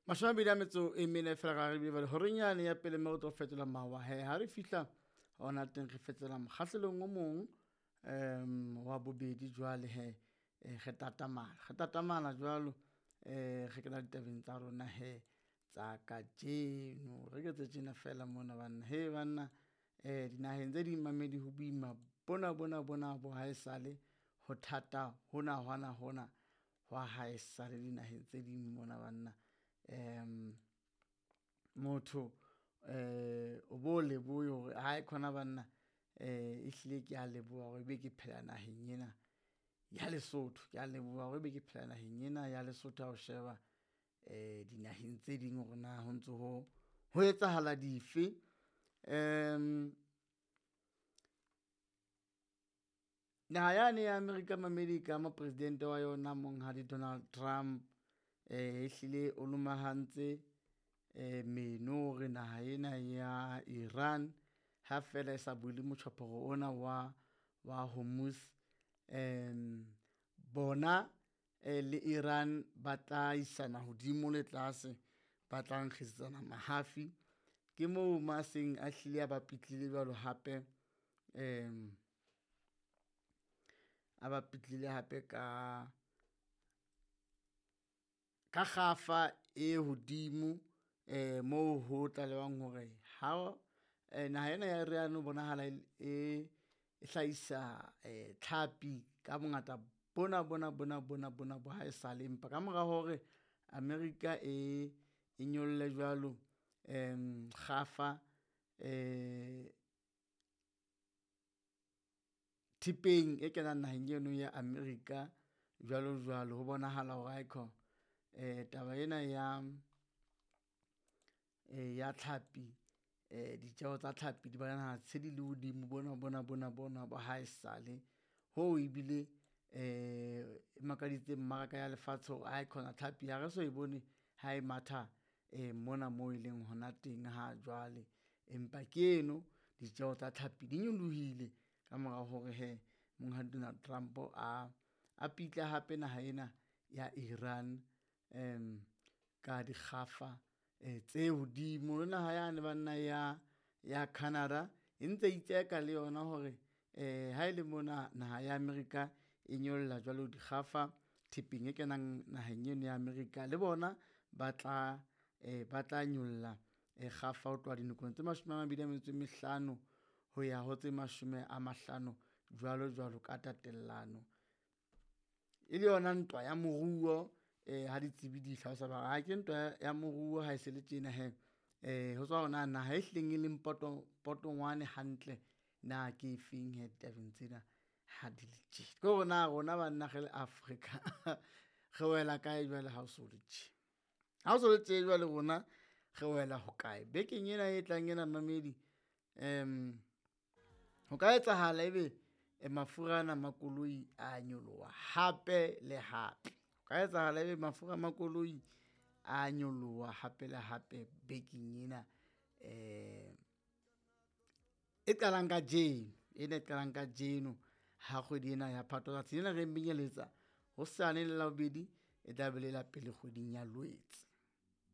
24 fela ga re bile horeng yane ya pele mme re tlo fetola mawa he ha re fihla ona teng re fetola mokgahlelong o mong wa bobedi jwale he re tatamala jwalo re kena ditabeng tsa rona he tsa kajeno. Re ke tse tjena fela mona banna he banna dinaheng tse ding mamedi ho boima bona bona bona bo ha esale ho thata hona hona hona hwa ha esale dinaheng tse ding mona banna. Motho o bo lebohe hore hae khona banna ehlile ke a leboha hore ebe ke phela naheng ena ya Lesotho, ke a leboha hore ebe ke phela naheng ena ya Lesotho. Ha o sheba dinaheng tse ding hore na ho ntso ho etsahala dife. Naha yane ya America mamedi ka mopresidente wa yona monghadi Donald Trump ehlile o lomahantse meno hore naha ena ya Iran ha fela e sa bule motjhophoro ona wa Hormuz, bona le Iran ba tla isana hodimo le tlase, ba tla nkgisetsana mahafi. Ke moo ma seng a hlile a ba pitlile jwalo hape, a ba pitlile hape ka kgafa e hodimo moo ho tlalehwang hore ha naha ena ya Iran ho bonahala e hlahisa tlhapi ka bongata bona bona bona bona bona bo ha esale, empa ka mora hore America e nyolle jwalo kgafa thepeng e kenang naheng eno ya America jwalo jwalo, ho bonahala hore aikhona taba ena ya ya tlhapi ditjeho tsa tlhapi di bonahala se di le hodimo bona bona bona bona ba ha esale hoo ebile e makaditseng mmaraka ya lefatshe hore aikhona tlhapi ha re so e bone ha e matha mona moo e leng hona teng ha jwale, empa ke eno ditjeho tsa tlhapi di nyolohile ka mora hore he monghadi Donald Trump a pitle hape naha ena ya Iran ka dikgafa tse hodimo. Le naha yane banna ya Canada e ntse itseka le yona hore ha ele mona naha ya America e nyolla jwalo dikgafa thepeng e kenang naheng eno ya America, le bona ba tla nyolla kgafa ho tloha dinokong tse 25 ho ya ho tse 50 jwalo jwalo ka tatellano. E le yona ntwa ya moruo ha ditsebi di hlalosa ba re ke ntwa ya moruo ha e se le tjena he ho tswa hore na naha e hlileng e leng potongwane hantle na ke efeng he ditabeng tsena ha di le tje. Ke hore na rona banna re le Afrika re wela kae jwale ha o so le tje, ha o so le tje jwale rona re wela hokae bekeng ena e tlang ena mamedi? Ho ka etsahala ebe mafura ana a makoloi a nyoloha hape le hape, ho ka etsahala ebe mafura a makoloi a nyoloha hape le hape bekeng ena e qalang kajeno, ena e qalang kajeno ha kgwedi ena ya Phato. Tsatsi lena re menyeletsa hosane le Labobedi e tla be le la pele kgweding ya Lwetse.